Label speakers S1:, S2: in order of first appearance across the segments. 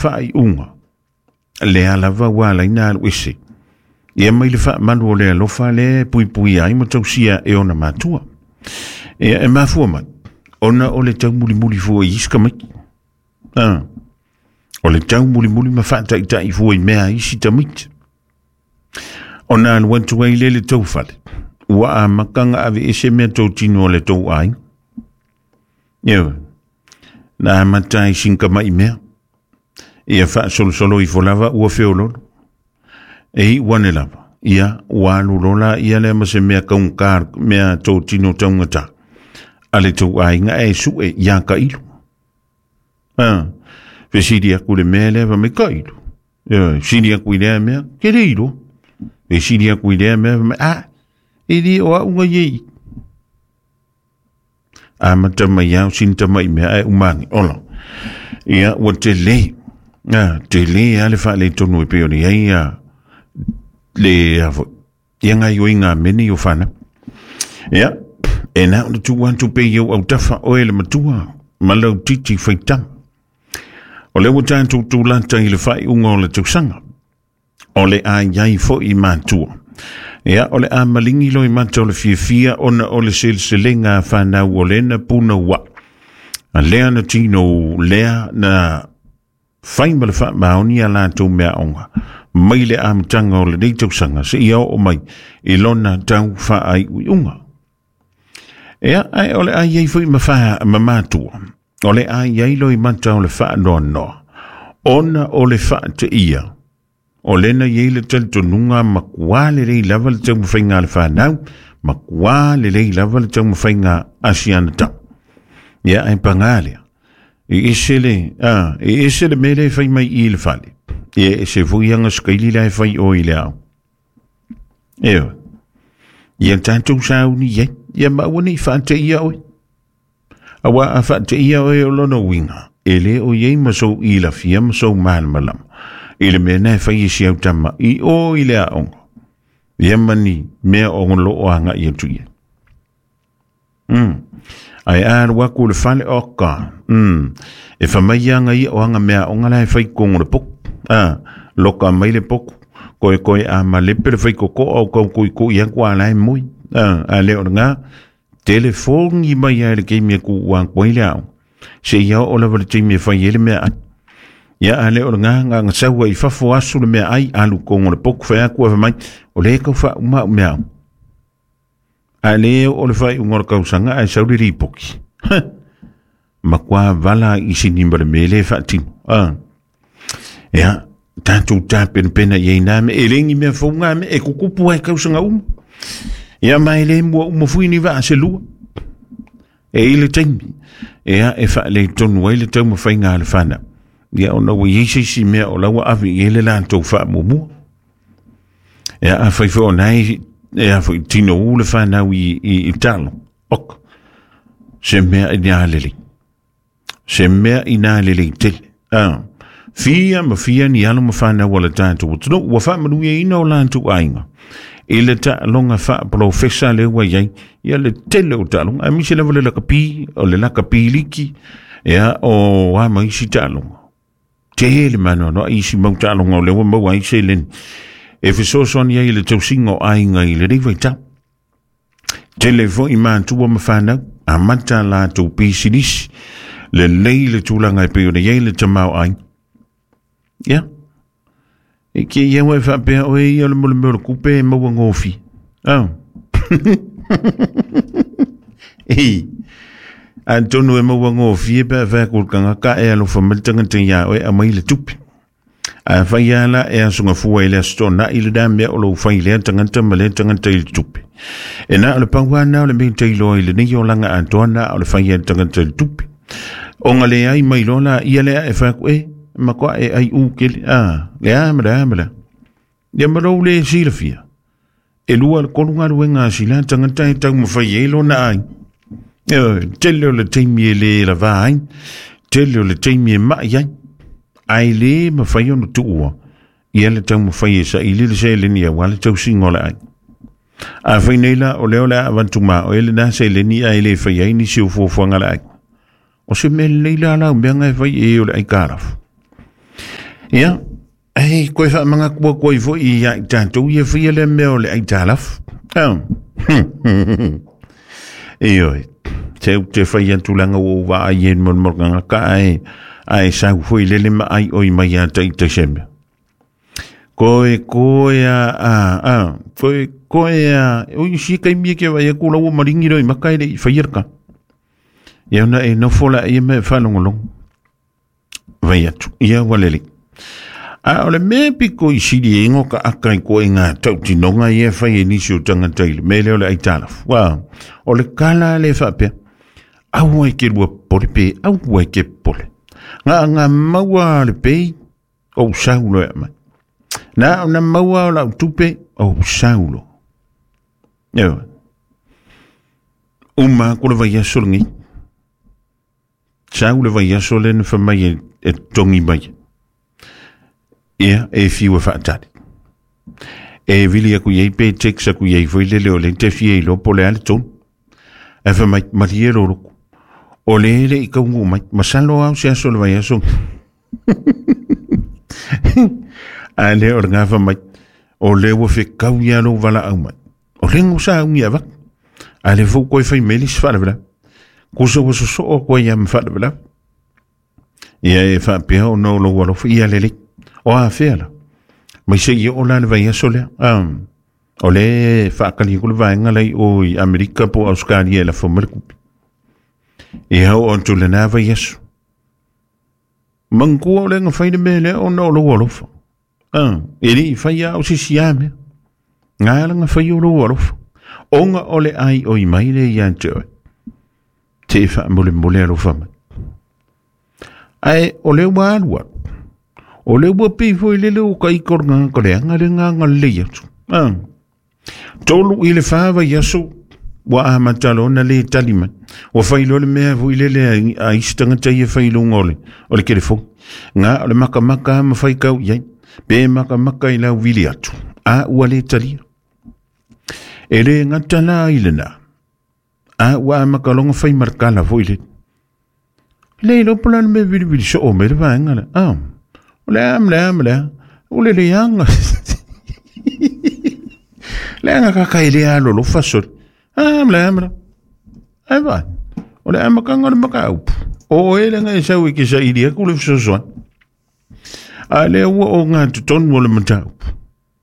S1: Faaiuga lea lava ua ala ai ona alu ese ia mai le faamalu o le alofa lea e puipuia ai ma tausia e ona matua. Ia e mafua mai ona o le taumulimuli fua i isi tamaiti. Ah, o le taumulimuli ma faataitai fua i mea a isi tamaiti. Ona alu atu ai lea i le tou fale, ua amata ona aveese meatotino a le tou aiga. Ioe, na amata ai sina tamai mea, ia faasolosolo ifo lava ua feololo. E iu ane lava, ia ua alu loa laia lea ma se mea taugata, mea totino taugata a le tou aiga ae sue ia tailo. Ah, fesili atu i le mea lea, fai mai, tailo. Ioe, sili atu i lea mea, ke le iloa. Fesili atu i lea mea, fai mai, ah, e le o au na i ai. Amata mai au sina tamai mea ae uma ane. Ola. Ia, ua tele. Ah, tele a le faaletonu e pei ona i ai a le a foi. Ia gaoioiga a mea nei o fanau. Ia, e na ona tuu atu pea i ou autafa oe le matua ma lau titi faitama. O lea ua tatou tulata i le faaiuga o le tausaga. O le a i ai foi matua. Ia, o le a maligi loimata o le fiafia ona o le seleselega a fanau o lena punouai. A lea na tino lea na fai ma le faamaoni a latou meaaoga mai le amataga o lenei tausaga seia oo mai i lona tau faaiuiuga. Ia, ae o le a i ai foi ma, fa, ma matua, o le a i ai loimata o le faanoanoa, ona o le faateia, o lena i ai le talitonuga matua lelei lava le taumafaiga a le fanau, matua lelei lava le taumafaiga a si ana tama. Ia, ae paga lea, e ese le, a, e ese le mea lea e fai mai i le fale, ia e ese foi aga sikaili la e fai o i le ao. Ioe. Ia tatou sauni i ai, ia ma aua ne i faateia oe. Aua a faateia oe o lona uiga, e le o i ai ma sou ilafia ma sou malamalama i le mea na e fai e si au tama i o i le aoga, ia ma ni mea o lo o agai atu i ai. Ae a alu atu i le fale, oka, e fai mai aga ia o aga meaaoga la e fai i totonu o le potu. A, loka mai le potu, koekoe a malepe le faitotoa o tau tuitui atu a la e moe. A, a le o lena, telefoni mai lava i le taimi e tuua atu ai le aoga, seia oo lava i le taimi e fai ai le meaai. Ia, a le o lena, na ona sau ai i fafo asu le meaai, alu i totonu o le potu, fai atu ae fai mai, o lea e tau faauma au meaaoga. Ae le oo le faaiuga o le tausaga ae sau le lipoti. Huh! Matua vala i sini ma le mea lea e faatino. Ah. Ia, tatou tapenapena i ai nā mea. E le ni mea fou ngā mea, e kukupu ai tausaga uma. Ia, ma e le mua uma fui ni vaa se lua. E i le taimi, ia, e faaletonu ai le taumafaiga a le fanau. Ia, ona ua i ai se isi mea o la ua ave i ai le latou faamuamua. Ia, afai foi o na e, e a foi tino u le fanau i talo. Ok. Se mea ina lelei. Se mea ina lelei tele. Ah. Fia ma fia ni alo ma fanau a le tatou atunuu ua faamanuiaina o latou aiga i le taaloga faapolofesa lea ua i ai ia le tele o taaloga, aemaise lava le lakapi, o le lakapi liki, ia o a ma isi taaloga. Tele maanoanoa isi mau taaloga o lea ua maua ai seleni e fesoasoani ai i le tausiga o aiga i lenei vaitau. Tele foi matua ma fanau, amata latou pisinisi, lelei le tulaga e pei ona i ai le tamaoaiga. Ia, e ke ia ua e faapea oe ia o le mea o le kupe e maua gofie. Ah. Ei, atonu e maua gofie pe a fai atu i le tagata e alofa mai le tagata iā oe aumai le tupe. A fai lava la e aso gafua i le Aso Toonai lena mea o lou fai lea tagata ma lea tagata i le tupe. E na o le pau lava lena o le mea e tailoa i lenei olaga atoa na o le fai a le tagata i le tupe. Ona leai mai loa la ia lea e fai atu, e, matua e ai u kele, a, le a ma le a ma le a. Ia ma lou le silafia, e lua le tolu galuega a sila tagata e taumafai ai lona ai. Ioe, tele o le taimi e le lavā ai, tele o le taimi e mai ai, ae le mafai ona tuua ia le taumafai e saili le seleni aua le tausiga o le aiga. Afai nei la o lea o le a avatu ma oe lena seleni ae le fai ai nisi o fuafuaga a le aiga, o se mea lelei la lau mea na e fai e o le aitalafu. Ia, ai koe whaamanga kua koe fo i ia i tātou ia whia le mea o le aitalafu. Ioe, te u te whai atulanga o wa ai e mo mo ngā ka ai ai sau fo i lele ma ai oi mai a tai te sembe. Koe koe a koe koe a oi si kai mie ke vai ku lau maringi roi makai le i whai ka. Ia na e no fola ia me whalongolong. Vai atu, ia walele. A o le mea piko i siri e ingo ka aka i ko e ngā tautinonga i e whai e nisi o tangata i le mele o le aitalafu. Wa, o le kala le whapea, aua i ke rua pole pe, aua i ke pole. Ngā ngā maua le pei, o saulo e mai. Nā o na maua o lau tupe, o saulo. Ewa. Uma ko le vai aso lengi. Sau le vai aso le na whamai e tongi mai. Ia, e fiu e whaatari. E vili aku iei pe text aku iei foi lele o le te fia i lopo le ale tonu. E wha mai marie roroku. O le ele i kaungu mai. Masalo au se aso le vai aso. A le o le ngā wha mai. O le ua fe kau ia lo wala au mai. O le ngu sa ungi awak. A le fau koe whai meli se whalavela. Kusa ua soso o koe ia ma whalavela. Ia e whaapea o no lo alofa ia lele. O a whea la. Mai se ia o la le vai aso lea. O le whaakali ku le vaenga lei o i Amerika po Australia e la fomele kupi. Ia o antu le nā vai aso. Mangkua o le nga whai le mea lea o no lo alofa. E li whai a o sisi a mea. Ngā la nga whai o lo alofa. Onga o le ai o i mai le ia te oe. Te wha mole mole alofa mai. Ai o le ua alua. O le ua pifo i lele o kai kor ngā kore anga le ngā ngā le atu. Tolu i le whawa i aso, ua a matalo na le tali mai. Ua whailo le mea fo i lele a isi tangata ia whailonga o le telefoni. Ngā o le makamaka ma whai kau iai. Pe makamaka i lau vili atu. A ua le talia. E le ngata la i le nā. A ua a makalonga whai markala fo i le. Le lopo la le me vili vili so o me le vaenga le. O le am le am le. O le le anga. Le anga kaka i le alo lo fasoli. Am le am le. Ai vai. O le amakanga le maka upu. O e le ngai sau i ke sa ili aku le fesoasoani. A le ua o ngā totonu o le mataupu.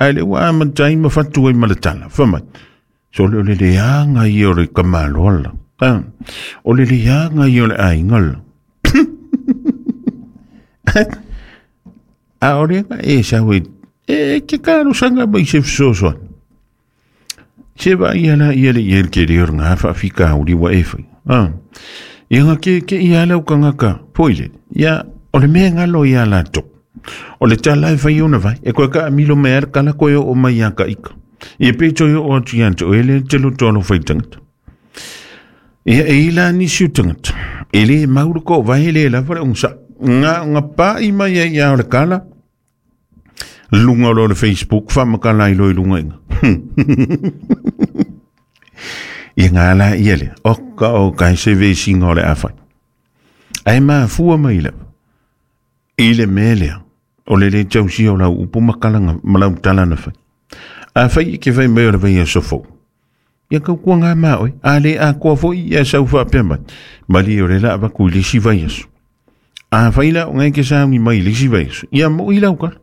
S1: A le ua amatai ma fatu ai ma le tala. Whamai. So le o le leanga i o le kamaloala. O le leanga i o le aingala. A o le e sau e e ke karo sanga mai se fesoasoani. Se va ia la ia le ia ke le ngā whaafika uri wa e whai. Ia ngā ke ia lau kangaka. Poile. Ia o le mea ngalo ia la tō. O le tala e whai ona vai. E koe ka amilo mea le kala koe o mai ia ka ika. Ia pe toi o atu ia te oele te loto alo whai tangata. Ia e ila nisi o tangata. E le mauru ko vai le la whare onga. Ngā ngā pā i mai ia o le kala. Lunga o le Facebook, whamakala i loi lunga inga. Ia ngā la ia le. O ka o kai se vesinga o le awhai. Ai maa fua mai le. I le melea. O le le tausia o lau upu makalanga malau tala na whai. A whai i ke whai mai o le whai a sofo. Ia kau kua ngā maa oi. A le a kua fo i a sau whaapea mai. Mali o le la awaku i lisi vai aso. A whai la o ngai ke saungi mai i lisi vai aso. Ia mo i lau kala.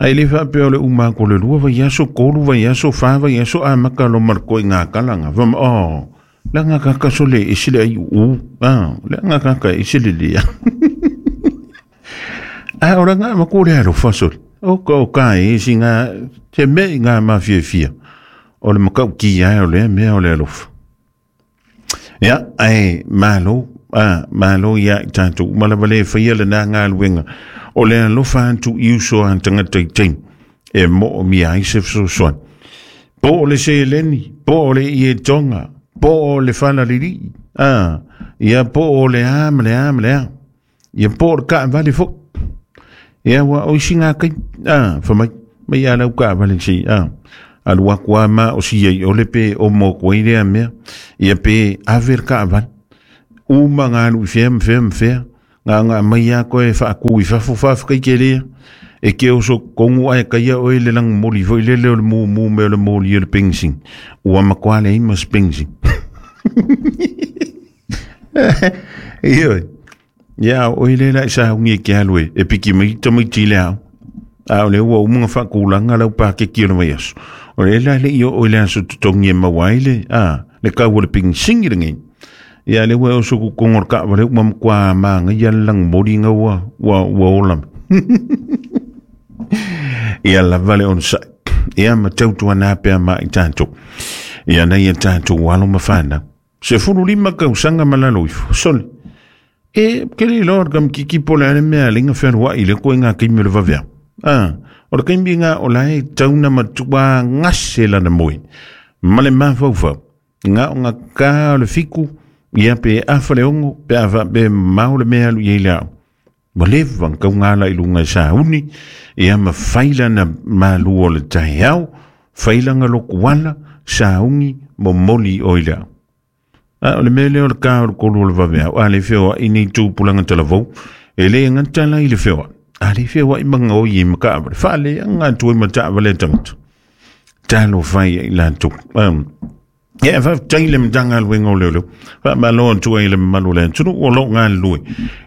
S1: Ai le whaapea o le uma ko le lua vai aso, kolu vai aso, wha vai aso, a maka lo marko i ngā kalanga. Wama, oh, la ngā kakaso le isile ai u. La ngā kaka isile lea. A ora ngā makore alo fasoli. O ka o ka e si ngā, te me i ngā mawhia fia. O le makau ki ai o le mea o le alofa. Ia, ai, malo, malo ia i tātou. Malawa le whaia le nā ngā luenga. O le alofa antu i uso an tangata i teim. E mo o mia ai se fesoasoani. Po o le seleni, po o le i e tonga, po o le whalariri. Ia po o le a, ma le a, ma le a. Ia po o le ka vale fo. Ia wa o isi ngā kai. Whamai, mai a lau ka vale si. Alu aku a ma o si ei o le pe o mō koe lea mea. Ia pe aver ka vale. Uma ngā lu whea, mwhea, mwhea. Nga mai a koe whaaku i fafo whawhakai ke lea. E ke oso kongu ai kaia oe le lang moli foi lele o le mu mu me o le moli o le pengsing. Ua makoa le ima spengsing. Ioe. Ia, o ile la sa ungi ke alue e piki mai tamaiti le au. A o le ua umunga whakulanga lau pākeki o le mai aso. O le la le i o le aso tutongi e maua ai le, a, le kau o le pengsing i lengi. Ia le ua oso ku kongo ka wale uma mkwa maanga ia lang mori nga ua, ua, ua ola. Ia la vale on sa. Ia ma tautua nā pea ma i tātou. Ia nei e tātou alo mawhana. Se fulu lima kausaga ma lalo ifo. Sole. E, ke le iloa le kamikiki po o le a le mea e alai ona fealuai i le koe ngā kaimi o le vaveao. A, o le kaimi ngā o la e tau na matua gase lana moe. Ma le mafaufau. Ngā o ngā kā o le fiku, ia pe afa le ongo, pe afa pe mamao le mea alu i ai le ao. Ua leva ona taugala i luga e sauni, ia ma fai lana malu o le taeao, fai lana lokuala, sauni, momoli i o i le ao. A o le mea lea o le ka o le kolu o le vaveao, a le feoai nei tupulaga talavou, e le gata la i le feoai, a le feoai ma gaoi ai ma taavale, faaleaga atu ai ma taavale a tagata. Talofa ai i latou. Ia, e faafetai i le Matagaluega o Leoleo. Faamalo atu ai i le mamalu o le atunuu o lo o galulue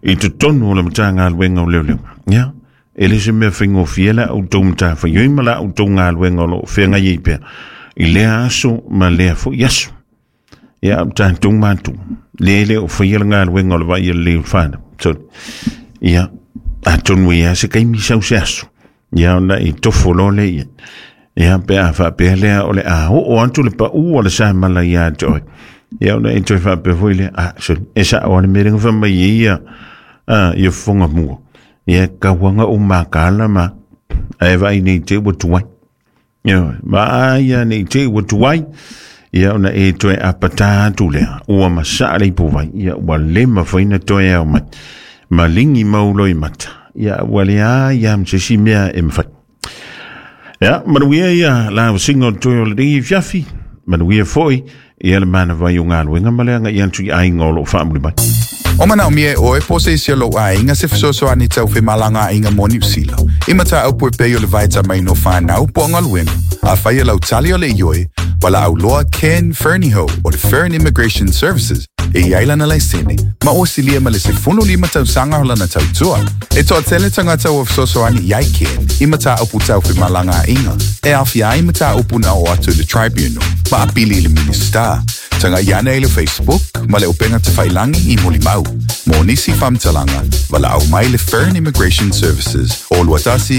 S1: i totonu o le Matagaluega o Leoleo. Ia, e le se mea faigofie la outou matafaioi ma la outou galuega o lo o feagai ai pea i lea aso ma lea foi aso. Ia, o tatou matou, lea e le o faia le galuega o le vaai lelei o le fanau. So, ia, atonu e i ai lava se taimi sau se aso, ia ona e tofo loa lea i ai. Ia, pe a faapea lea o le a oo atu le pau o le samala ia te oe. Ia ona e toe faapea foi lea, ah, sorry, e sao lava le mea lea na fai mai ai ia, ah, ia fofoga mua. Ia, tau lava ona ou mataala ma, ae vaai nei te i ua tuai. Ia, vaai ia nei te i ua tuai. Ia ona e toe apatā atu lea, ua masaa le ipuvai, ia ua le mafai ona toe ao mai. Ma ligi mau loimata, ia ua leai lava ma se isi mea e mafai. Ia, manuia ia la vasina o le toe o lenei afiafi, manuia foi ia le manava i o galuega ma le agai atu i aiga o lo o faamuli mai.
S2: O manaomia e ʻoe po o se isi o lou aiga se fesoasoani tau femalagaaiga mo Niu Sila, i mataupu e pei o le vaetamaina o fanau po o galuega, afai e lau tali o le ioe, valaau loa Ken Fernihough o le Fern Immigration Services e i ai lana laisene ma ua silia ma le 15 tausaga o lana tautua. E toatele tagata ua fesoasoani i ai Ken i mataupu tau femalagaaiga e aofia ai mataupu na oo atu i le Tribunal ma apili i le Minisita. Tagai ane i le Facebook ma le upega tafailangi i Mulimau. Mo nisi faamatalaga, valaau mai le Fern Immigration Services o 21.